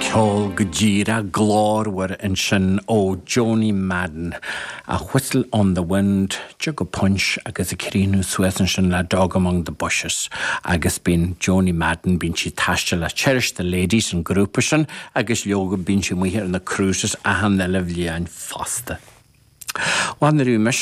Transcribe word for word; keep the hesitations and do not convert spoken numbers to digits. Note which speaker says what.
Speaker 1: Ceol go díreach glórmhar ansin ó Joanie Madden, a Whistle on the Wind, Jug of Punch agus ag críochnú suas ansin le Dog Among the Bushes. Agus bíonn Joanie Madden bíonn sí ag taisteal le Cherish the Ladies an grúpa sin agus leoga bíonn sí amuigh ar na cruises achan uile bhliain fosta. Bhuel na mis